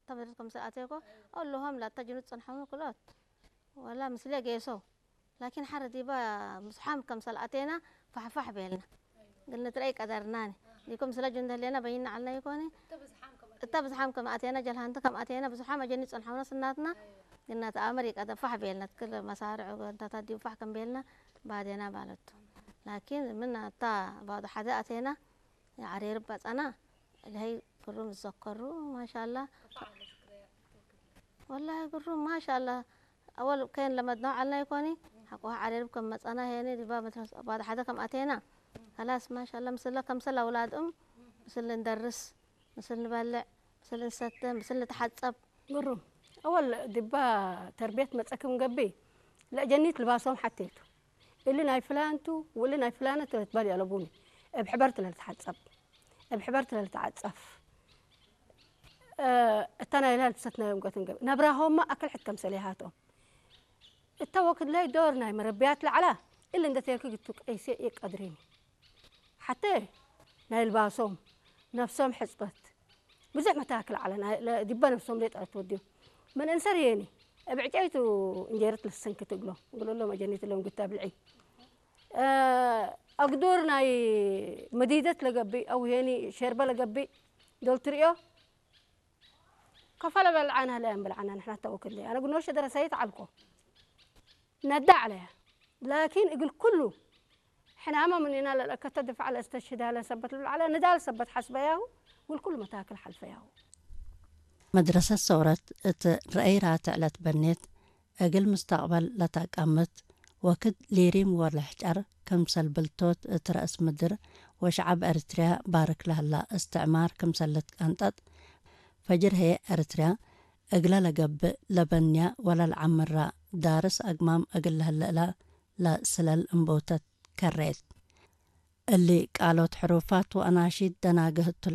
ተመድር ከም ሰኣቴኮ ኣሎሆም ላታ ጅኑ ጸንሖም ክሎት ወላ ምስለ ጌሶ ላኪን ሓረ ዲባ ምስሓም ከም ሰልኣቴና ፋሕፋሕ ቤልና ግን ንትረይ ቀደርናኒ ዲኩም ስለ ጅንደ ህሌና በይና ዓልና ይኮኒ እታ ብዝሓም ከም ኣቴና ጀልሃንቲ ከም ኣቴና ብዙሓም ኣጀኒ ጸንሖምና ስናትና ግና ተኣመር ይቀደ ፋሕ ቤልና ትክል መሳርዑ ጎንታታት ዲቡ ፋሕ ከም ቤልና ባዴና ባለቱ ላኪን ምን ኣታ ባዶ ሓደ ኣቴና ዓሬር ባጻና ለሀይ ግሩም ዝዘከሩ ማሻላ ወላሂ ግሩም ማሻላ ኣወል ከይን ለመድና ዓልና ይኮኒ ሓቆ ዓሬር ከም መጻና ሄኒ ዲባ መድረስ ባዶ ሓደ ከም ኣቴና ከላስ ማሻላ ምስለ ከምሰል ኣውላድኦም ምስል እንደርስ ምስል ንበልዕ ምስል ንሰተ ምስል ንተሓጸብ ግሩም ኣወል ዲባ ተርቤት መጸክም ገቢ ለእጀኒት ልባሶም ሓቴቱ እሊ ናይ ፍላንቱ ውሊ ናይ ፍላነት ትበል የለቡኒ እብ ሕበርት ለልተሓጸብ እብ ሕበርት ለልተዓጸፍ እታ ናይ ላል ትሰት ናይ እምቀትን ገብ ነብራሆማ ኣክል ሕት ከምሰል ይሃቶም እታ ወክድ ላይ ዶር ናይ መረብያት ለዓላ እሊ እንደ ተየክግ እቱ ቀይሴ የቀድሪኒ ሓተ ናይ ልባሶም ነፍሶም ሕጽበት ብዙሕ መታክል ዓለ ዲባ ነፍሶም ደይ ጠረት ወዲዮም ምን እንሰር የኒ እብ ዕጨይቱ እንጀረት ልሰንክ ትግሎ ግሎሎ መጀኒት ሎም ግታ ብልዒ ኣግዶር ናይ መዲደት ለገብእ ኣው ሄኒ ሸርበ ለገብእ ዶል ትርእዮ ከፈለ በልዓና ለያን በልዓና ንሕና ተወክል ኣነ ግኖ ሸደረ ሰይት ዓልኮ ነዳ ዓለያ ላኪን እግል ኩሉ ሕናማ ምንና ለለከተ ድፋዕ ለስተሽዳ ለሰበት ልብልዓለ ንዳል ሰበት ሓስበያሁ ግል ኩሉ መታክል ሓልፈያሁ መድረሰት ሰውረት እት ረአይ ራትዕ ለትበኔት እግል ምስተቅበል ለታቃምት ወክድ ሊሪም ወለሕጨር ክምሰል ብልቶት እት ረእስ ምድር ወሸዓብ ኤርትርያ ባርክ ለህላ እስትዕማር ክምሰል ልትቀንጠጥ ፈጅር ህዬ ኤርትርያ እግለ ለገብእ ለበንያ ወለልዓምራ ዳርስ አግማም እግል ለህልእላ ለስለል እንቦተት ከሬት። እሊ ቃሎት ሕሩፋት ወአናሺድ ደናግህ እቱ